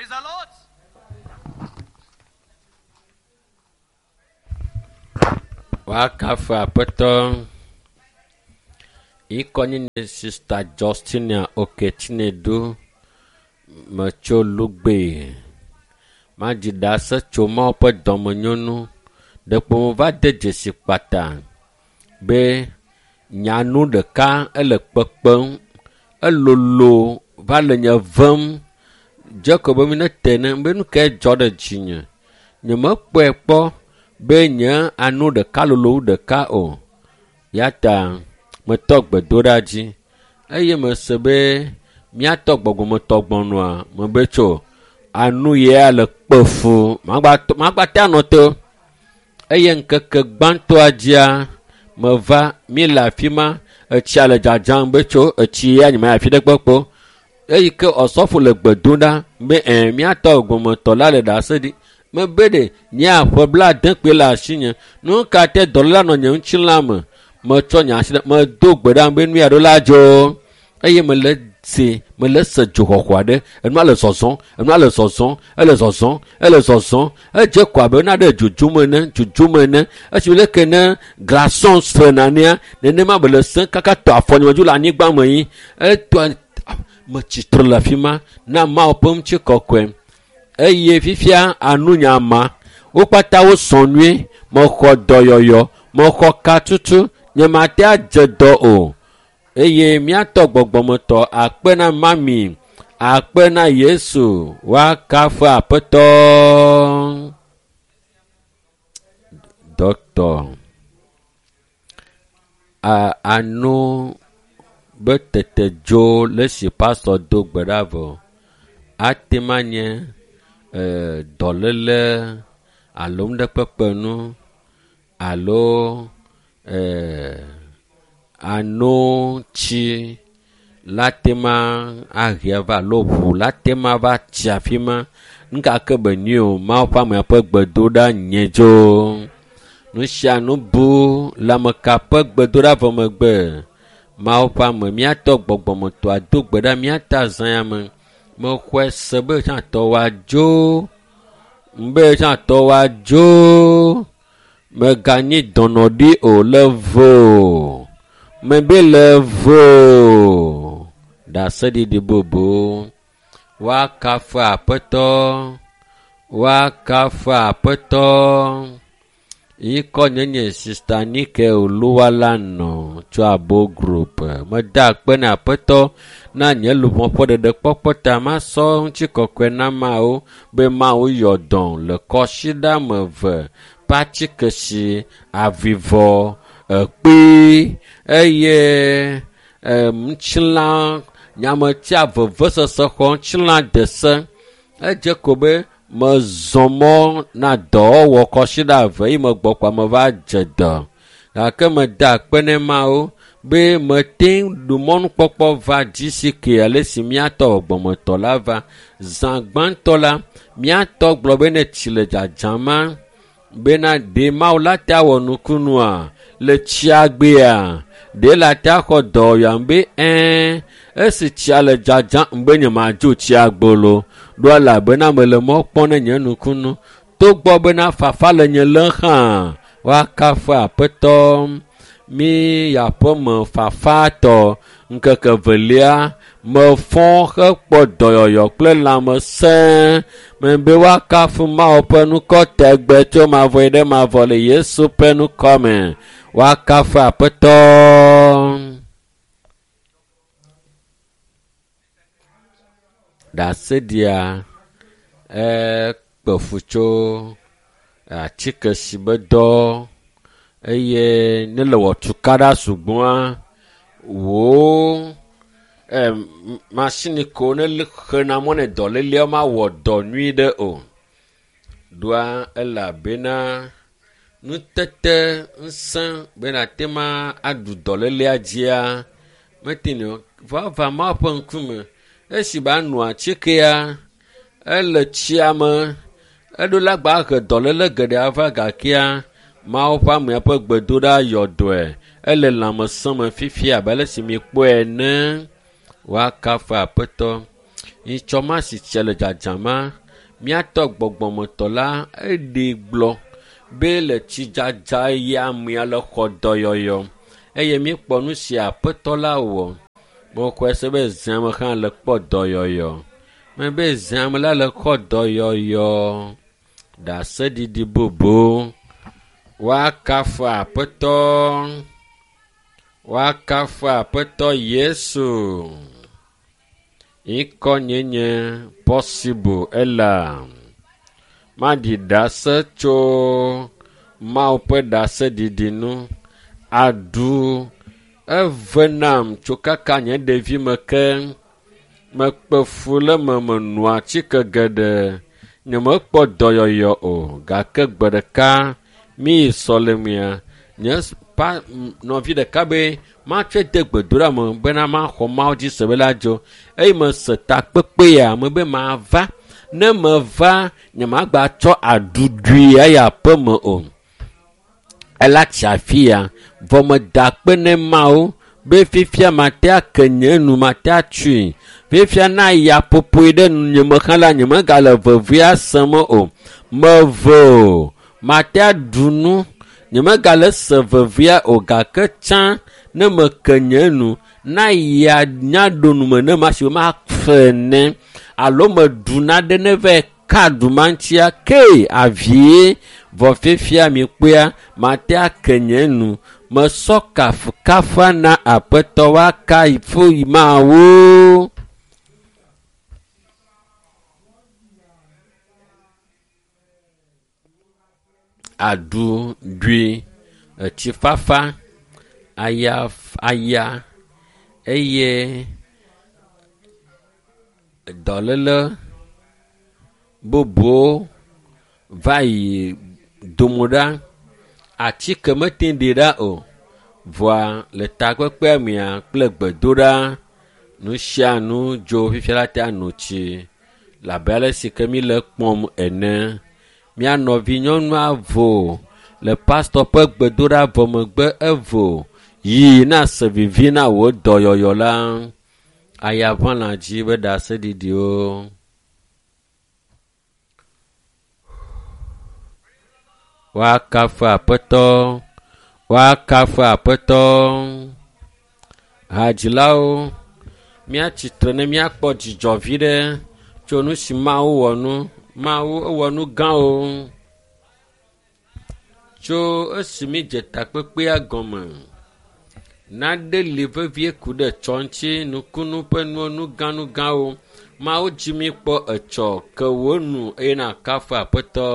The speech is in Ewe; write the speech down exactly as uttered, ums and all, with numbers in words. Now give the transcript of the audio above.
Praise the Lord. Woakafu aƒetɔ yikɔ nye Sista Justina Okechinedu metso Lugbe. Madzi ɖase tso Mawu ƒe dɔmenyonu. Ɖeko meva de dzesi kpata be nyanu ɖeka ele kpekpem. Elolo va le nye vem. Dze ko be mi nete ne be nu kae dzɔ ɖe dzinye. Nyemekpɔe kpɔ be nye anu ɖeka lolo wu ɖeka o. Ya ta metɔ gbedoɖa dzi eye mese be míatɔ gbɔgbɔmetɔ gbɔnua mebe tso anu yia le kpe fu magba magba te anɔ te o. Eye ŋkeke gbãtɔa dzia meva mi le afi ma etsia le dzadzam be tso etsi ya nye mayi afi ɖe kpekpe o. Eyi ke ɔsɔfo le gbe dom ɖa be ɛ míatɔ gbɔgbɔmetɔ la le ɖase ɖi. Mebe ɖe nye aƒe blaade kpoe le asinye. Nu ka te dɔléla nɔ nye ŋutilã me. Metsɔ nye asi ɖe medo gbe ɖa be nu ya ɖo la dzo. Eye mele se mele se dzoxɔxɔ aɖe. Enua le zɔzɔm, enua le zɔzɔm, ele zɔzɔm, ele zɔzɔm. Edze ko abe naɖe dzodzom ene, dzodzom ene. Esi leke ne glaçon srena nea, nenema be le sẽ kaka tɔ afɔ nye me dzo le anyigba me yi. Etɔ metsi tre le afi ma na Mawu ƒe ŋutikɔkɔe. Eye fifia anu nya ma. Wo kpata wosɔ nyuie. Mexɔ dɔyɔyɔ, mexɔ katutu, nyemate adze dɔ o. Eye míatɔ gbɔgbɔmetɔ akpe na mami, akpe na Yesu, woakafu aƒetɔ. Dɔkitɔ a anu be tete dzo le esi pastɔ do gbe ɖa vɔ. Ate ma nye e dɔléle alo nuɖekpekpe nu alo e ano tsi la te ma ahe va alo ʋu la te ma va tsi afi ma. Nu ka ke be nyi o, Mawu ƒe amea ƒe gbedoɖa nye dzo. Nu sia nu bu le ame ka ƒe gbedoɖa vɔ megbe. Mawu ƒe ame míatɔ gbɔgbɔmetɔa do gbe ɖa míata zã ya me. Mexɔe se be tsãtɔ woadzo. Be tsãtɔ woadzo. Meganyi dɔnɔ ɖi o le vo. Mebe le vo. Ɖaseɖiɖi bubu. Woakafu aƒetɔ. Woakafu aƒetɔ. Yikɔ nye nye Sista Nike Oluwalanɔ tso Abo Group. Meda akpe na aƒetɔ na nye luʋɔ ƒe ɖeɖekpɔkpɔ ta masɔ ŋutikɔkɔe na Mawu be Mawu yɔ dɔ le kɔsiɖame eve patikesi avivɔ ekpi eye e ŋutilã nyametia vevesese xɔ ŋutilã de se. Edze ko be mezɔ mɔ na dɔwɔwɔ kɔsiɖa eve yi megbɔ kɔa meva dze dɔ. Gake meda akpe ne Mawu be mete ŋu ɖu mɔnukpɔkpɔ va GCK ale si míatɔ gbɔgbɔmetɔ la va. Zã gbãtɔ la, míatɔ gblɔ be ne tsi le dzadzama bena ɖe Mawu la te awɔ nukunua le tsia gbea, ɖe la te axɔ dɔyɔam be ɛ̃ esi tsia le dzadzam be nyemadzo tsia gbolo ɖo elabena mele mɔ kpɔm ne nye nukunu. Togbɔ bena fafa le nye lém hã, woakafu aƒetɔ. Mi yaƒeme fafatɔ ŋkeke velia mefɔ hekpɔ dɔyɔyɔ kple lãmesẽ. Mebe woakafu Mawu ƒe ŋkɔ tegbe tso mavɔ yi ɖe mavɔ le Yesu ƒe ŋkɔ me. Woakafu aƒetɔ. Ɖaseɖia ekpe fu tso atike si be dɔ eye ne le wɔ tukaɖa sugbɔa wò e masini ko ne xena mɔ ne dɔléleawo mawɔ dɔ nyui ɖe o. Ɖoa elabena nutete ŋusẽ be nate ma aɖu dɔlélea dzia mete nɛ o. Vava Mawu ƒe ŋkume esi ba nu atikea ele tsia me eɖo la gba he dɔléle geɖe ava gakea Mawu ƒe amea ƒe gbedoɖa yɔ dɔe. Ele lãmesẽ me fifia abe ale si mikpɔe ene. Woakafu aƒetɔ. Nyitsɔma si tse le dzadzama, míatɔ gbɔgbɔmetɔ la eɖee gblɔ be le tsidzadza ya amea le xɔ dɔyɔyɔ eye míekpɔ nu si aƒetɔ la wɔ. Mexɔe se be zãme hã le kpɔ dɔyɔyɔ. Mebe zãme la le xɔ dɔyɔyɔ. Ɖaseɖiɖi bubu. Woakafu aƒetɔ. Woakafu aƒetɔ Yesu. Ŋkɔ nye nye Possible Ella. Maɖi ɖase tso Mawu ƒe ɖaseɖiɖi nu. Aɖu eve nam tso kaka nye ɖevime ke. Mekpe fu le eme menɔ atike geɖe. Nyemekpɔ dɔyɔyɔ o gake gbe ɖeka míyi sɔlemea nye pa nɔvi ɖeka be matsɔe de gbedoɖa me bena maxɔ Mawu dzi se be la dzo. Eye mese takpekpe ya me be mava. Ne meva nyemagbatsɔ aɖuɖui ayi aƒeme o. Ela tsi afi ya vɔ meda akpe ne Mawu be fifia mate ake nye nu mate atsui. Fifia na ya ƒoƒoe ɖe nye me hã la nyemegale vevia sem o. Meve o. Mate aɖu nu. Nyemegale se vevia o gake tsã ne meke nye nu na ya nya ɖo nume ne ma si mafe ne alo meɖu nane ne va ka ɖu ma ŋutia ke avie vɔ fifia mi kpɔa mate ake nye nu mesɔ kafukafa na aƒetɔ woakafu Mawu. Aɖu ɖui etsifafa aya aya eye dɔléle bubuwo va yi dome ɖa. Atike mete ɖi ɖa o. Vɔa le takpekpea mea kple gbedoɖa nu sia nu dzo fifia la te no tsi le abe ale si ke mi le kpɔm ene. Mía nɔvi nyɔnua vo le pastɔ ƒe gbedoɖa vɔ megbe evo yi na se vivi na wò dɔyɔyɔ la. Ayaʋãlã dzi be ɖaseɖiɖiwo. Woakafu aƒetɔ. Woakafu aƒetɔ. Hadzilawo, míatsitre ne míakpɔ dzidzɔ vi ɖe tso nu si Mawu wɔ nu. Mawu ewɔ nu gãwo. Tso esi mídze takpekpea gɔme, nane li vevie ku ɖe tsɔ ŋuti nukunu ƒe nuwo nugãnugãwo. Mawu dzi mi kpɔ etsɔ ke wò nu eye nakafu aƒetɔ.